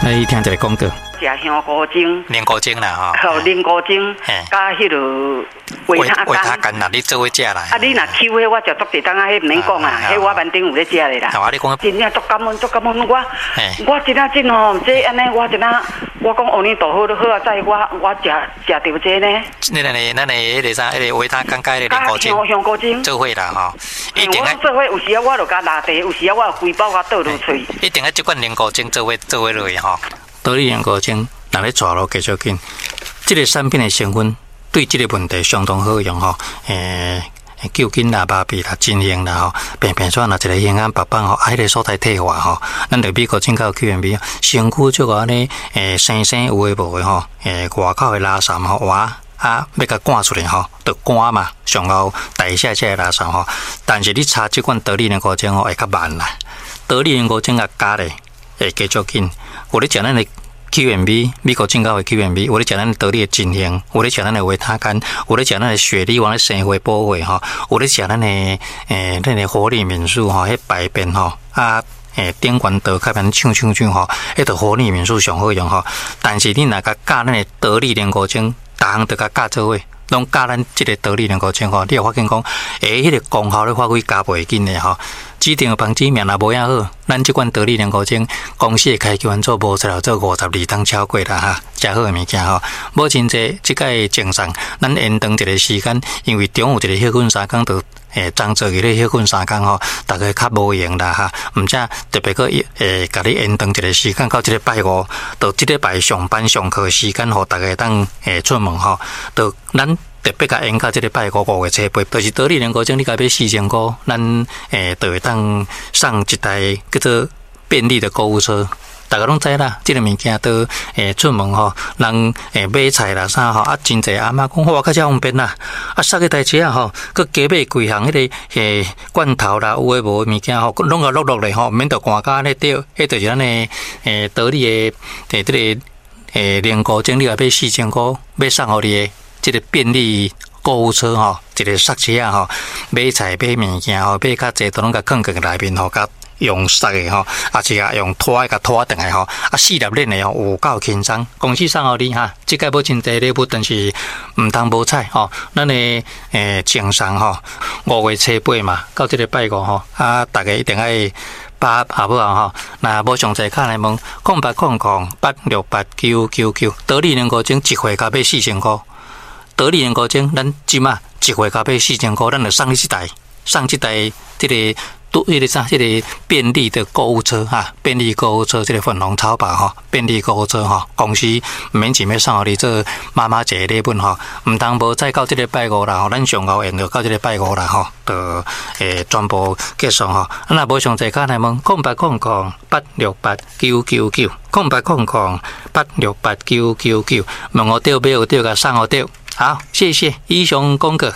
來聽一个廣告。食香菇精，凝菇精啦吼，吼凝菇精，佮彼落維他乾。維他乾啦，你做伙食啦。啊，你若搝彼我食足濟冬仔，彼毋免講啊，彼我挽頂有咧食的啦。啊，你講真正足感恩，足感恩我，我真正真吼，這按呢，我真正，我講阿彌陀佛，好啊，在我我食食著這呢。咱的咱的彼个啥，彼个維他乾佮彼个凝菇精，香香菇精做伙啦吼。一定愛做伙，有時仔我就共拉茶，有時仔我就規包共倒落喙。一定愛這款凝菇精做伙做伙落去吼。多利凝菇精，若咧逝路繼續緊，這个產品的成分對這个問題相當好用吼。救緊啦、麻痹啦、真興啦吼，便便煞若一个興安白放吼，啊，彼个所在退化吼，咱著美國進口 Q&B，身軀足按呢，生生有的無的吼，外口的垃圾吼，哇，啊，欲共趕出來吼，著乾嘛，上後代謝這个垃圾吼。但是你搽這款多利凝菇精吼，會較慢啦。多利凝菇精共加咧，會加足緊。有咧食咱的 Q&B，美國進口的 Q&B，有咧食咱的多利的真興，有咧食咱的維他乾，有咧食咱的雪梨丸的生花補血吼，有咧食咱的咱的活力敏素吼，彼排便吼啊，頂懸倒較免搶搶搶吼，彼著活力敏素上好用吼。但是你若共加咱的多利凝菇精，逐項都共加做伙，攏加咱這个多利凝菇精吼，你會發現講，彼个功效咧發揮加倍緊的吼。指定的房子命若無影好，咱這款多利凝菇精公司的開機關做無出來做52冬超過啦哈，誠好的物件吼。母親節這擺贈送，咱延長一个時間，因為中午一个歇睏3工，就張做去咧歇睏3工吼，逐家較無閒啦哈。毋才特別閣共你延長一个時間到這个拜五，到這禮拜上班上課時間，予逐家當出門吼，就咱特別共延到這个拜五5月初8，就是多利凝菇精，你共買4000箍，咱就會當送一台叫做便利的購物車。逐家攏知啦，這个物件都出門吼，人買菜啦啥吼，啊真濟阿嬤講哇，較遮方便啦，啊捒彼台車仔吼，閣加買幾項彼个罐頭啦，有的無的物件吼，攏共落落來吼，毋免著寒甲按呢對，彼就是咱的多利的這个凝菇精，你若買4000箍，欲送予你的這个便利購物車吼，一个捒車仔吼，買菜買物件吼，買較濟都攏共囥佇內面吼，共用捒的吼，抑是共用拖的共拖轉來吼，啊四粒鏈的吼，有夠輕鬆。公司送予你哈，這擺母親節禮物，但是毋通無彩吼。咱的贈送吼，5月初8嘛，到這个拜五吼，啊，逐家一定愛把握好無吼。若無詳細敲來問，0800868999，多利凝菇精一回共買4000箍。多利凝菇精，咱這馬一回共買四千箍，咱就送你這台，送這台這个都彼个啥，這个便利的購物車哈，便利購物車，這个粉紅超跑吼，便利購物車吼，公司毋免錢欲送予你做媽媽節的禮物吼，毋通無再到這个拜五啦吼，咱上後延著到這个拜五啦吼，就全部結束吼。啊，若無詳細敲來問，0800868999，0800868999，問予著買予著，共送予著。好，謝謝，以上廣告。